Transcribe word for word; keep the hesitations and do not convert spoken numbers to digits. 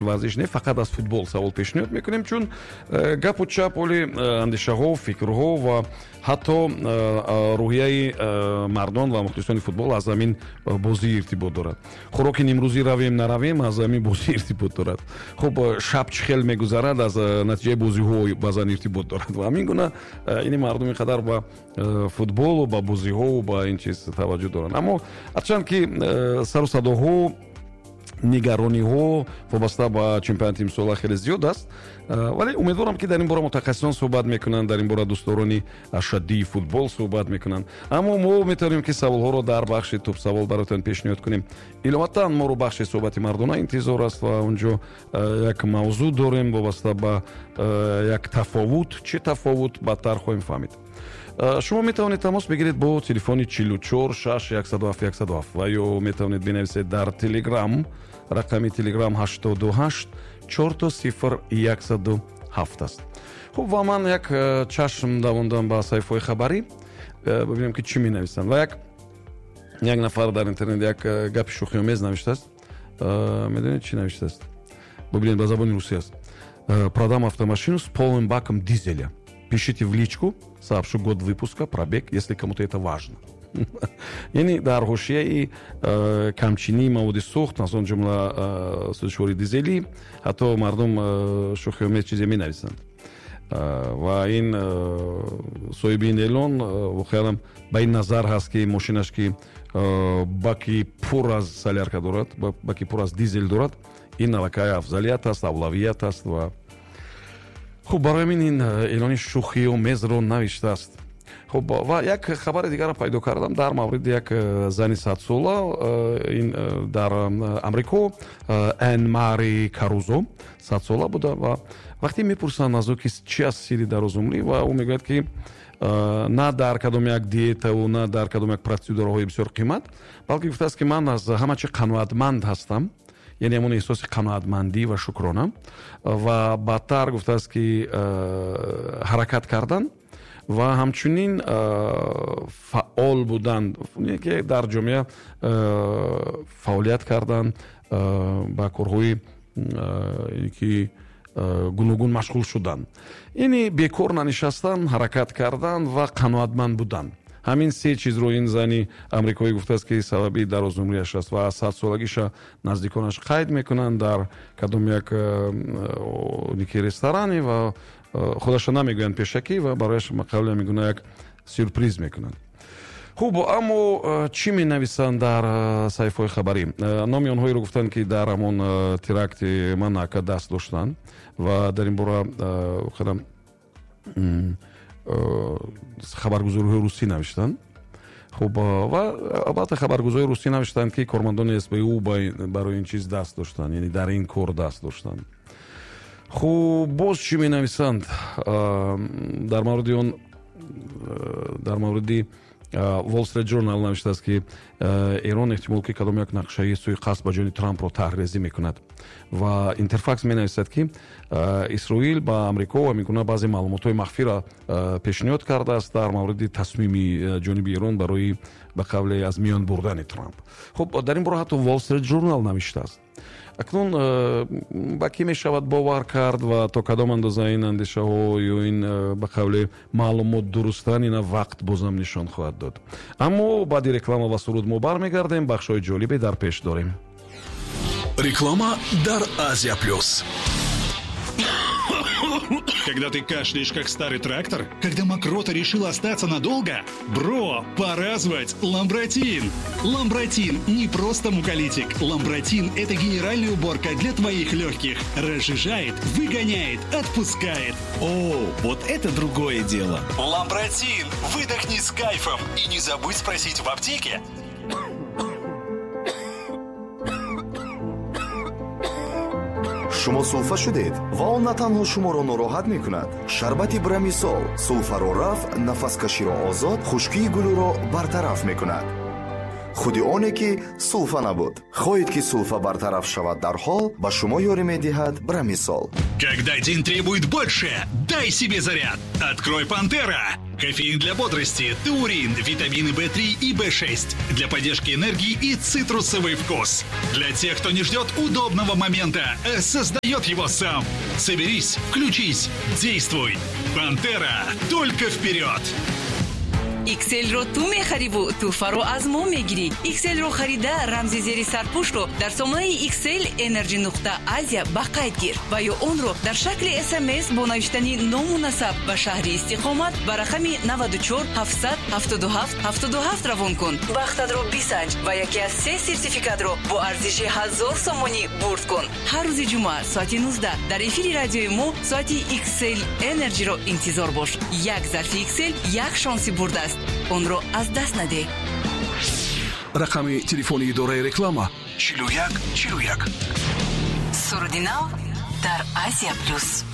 Варзиш не фақат аз футбол савол пешниҳод мекунем, чун э, гапу чап, оли э, андешаҳо, фикрҳо ва ҳатто э, рӯҳияи мардон ва мухлисони футбол аз ҳамин бозӣ иртибот дорад. Хӯроки нимрӯзӣ равем, наравем, аз ҳамин бозӣ иртибот дорад. Хуб, шаб чӣ хел мегузарад, аз натиҷаи бозиҳо баъзан иртибот дорад. Ва ҳамин гуна ини мардум ин қадар ба футболу ба бозиҳову ба ин чиз таваҷҷӯҳ доранд. Аммо ҳарчанд ки сару садоҳо, нигарониҳо вобаста ба чемпионати имсола хеле зиёд аст, вале умедворам, ки дар ин бора мутахассисон суҳбат мекунанд, дар ин бора дӯстдорони ашаддии футбол суҳбат мекунанд. Аммо мо метавонем, ки саволҳоро дар бахши тӯбсавол бароятон пешниҳод кунем. Иловатан моро бахши суҳбати мардона интизор аст ва унҷо як мавзӯъ дорем вобаста ба як тафовут. Чӣ тафовут, баъдтар хоҳем фаҳмид. Шумо метавонед тамос бигиред бо телефони чилу чор шаш яксаду ҳафт яксаду ҳафт ва ё метавонед бинависед дар Телеграм. Рақами Телеграм ҳаштоду ҳашт чорто сифр яксаду ҳафт аст. Хуб, ва ман як э, чашм давондам ба саҳифаҳои хабарӣ, э, бибинем, ки чӣ менависанд. Ва як як нафар дар интернет як э, гапи шӯхиомез навиштааст. Медонед, чӣ навиштааст? Бибинед, ба забони русӣ аст: «Продам автомашину с полным баком дизеля, пишите в личку, сообщу год выпуска, пробег, если кому-то это важно». Яъне дар ҳошияи э, камчинии маводи сӯхт, аз он ҷумла э, сӯзишвори дизелӣ, ҳатто мардум э, шӯхиомез чизе менависанд. Ва ин соҳиби ин эълон воқеанам ба ин назар ҳаст, ки мошинаш, ки баки пур аз солярка дорад, баки пур аз дизел дорад, ин аллакай афзалият аст, авлавият аст. Ва хуб, барои ҳамин ин эълони шӯхиомезро навиштааст. Хуб, ва як хабари дигарро пайдо кардам дар мавриди як э, зани садсола э, ин э, дар Амрико, Эн Мари Карузо садсола буда. Ва вақте мепурсанд аз ӯ, ки чӣ аст сирри дарозумрӣ, ва ӯ мегӯяд, ки на дар кадом як диетаву на дар кадом як процедураҳои бисёр қимат, балки гуфтааст, ки ман аз ҳама чи қаноатманд ҳастам, яъне ҳамон эҳсоси қаноатмандӣ ва шукрона. Ва баъдтар гуфтааст, ки ҳаракат кардан ва ҳамчунин фаъол будан, ки дар ҷомеа фаъолият кардан, ба корҳои ки гуногун машғул шудан, яъне бекор нанишастан, ҳаракат кардан ва қаноатманд будан. Ҳамин се чизро ин зани амрикоӣ гуфтааст, ки сабаби дарозумрияш аст. Ва садсолагиша наздиконаш қайд мекунанд дар кадом як ки ресторане ва худаша намегӯянд пешакӣ ва барояш қавле мегуна як сюрприз мекунанд. Хуб, аммо чӣ менависанд дар саҳифаҳои хабарӣ? Номи онҳоеро гуфтанд, ки дар ҳамон теракти Монако даст доштанд, ва дар ин бора воқеан хабаргузориҳои русӣ навиштанд. Хуб, ва албатта хабаргузории русӣ навиштанд, ки кормандони С Б У барои ин чиз даст доштанд, яъне дар ин кор даст доштанд. Хуб, боз чӣ менависанд дар мавриди он? Дар мавриди Wall Street Journal навиштааст, ки Эрон эҳтимол ки кадом як нақшаи суиқасд ба ҷони Трампро таҳрезӣ мекунад. Ва Интерфакс менависад, ки Исроил ба Амрико ва мегуна баъзе маълумотҳои махфиро пешниҳод кардааст дар мавриди тасмими ҷониби Эрон барои ба қавле аз миён бурдани Трамп. Хуб, дар ин бора ҳатто Wall Street Journal навиштааст. Акнун э, ба кӣ мешавад бовар кард ва то кадом андоза ин андешаҳо ё ин э, ба қавле маълумот дурустанд, ина вақт бозам нишон хоҳад дод. Аммо баъди реклама ва суруд мо бармегардем, бахшҳои ҷолибе дар пеш дорем. Реклама дар Азия Плюс. Когда ты кашляешь, как старый трактор? Когда мокрота решила остаться надолго? Бро, пора звать Ламбратин! Ламбратин не просто муколитик. Ламбратин – это генеральная уборка для твоих легких. Разжижает, выгоняет, отпускает. О, вот это другое дело. Ламбратин! Выдохни с кайфом. И не забудь спросить в аптеке. Шумо сулфа шудед ва он на танҳо шуморо нороҳат мекунад. Шарбати Брамисол сулфаро рафъ, нафаскаширо озод, хушкии гулӯро бартараф мекунад. Худи оне ки сулфа набуд. Хоҳед, ки сулфа бартараф шавад дарҳол, ба шумо ёрӣ медиҳад Брамисол. Когда день требует больше, дай себе заряд. Открой Пантера. Кофеин для бодрости, таурин, витамины бэ три и бэ шесть. Для поддержки энергии и цитрусовый вкус. Для тех, кто не ждет удобного момента, а создает его сам. Соберись, включись, действуй. Пантера, только вперед! Икселро ту мехариву туҳфаро аз мо мегирӣ. Икселро харида рамзи зери сарпӯшро дар сомонаи Иксел Energy нуқта Азия ба қайд гир ва ё онро дар шакли С М С бо навиштани ному насаб ва шаҳри истиқомат ба рақами наваду чор ҳафтсад ҳафтоду ҳафт ҳафтоду ҳафт равон кун. Бахтатро бисанҷ ва яке аз се сертификатро бо арзиши ҳазор сомонӣ бурд кун. Ҳар рӯзи ҷумъа соати нуздаҳ дар эфири радиои мо соати Иксел Energy-ро интизор бош. Як зарфи Иксел як шонси бурд аст, онро аз даст надеҳ. Рақами телефони идораи реклама чилу як чилу як. Суруди нав дар Азия Плюс.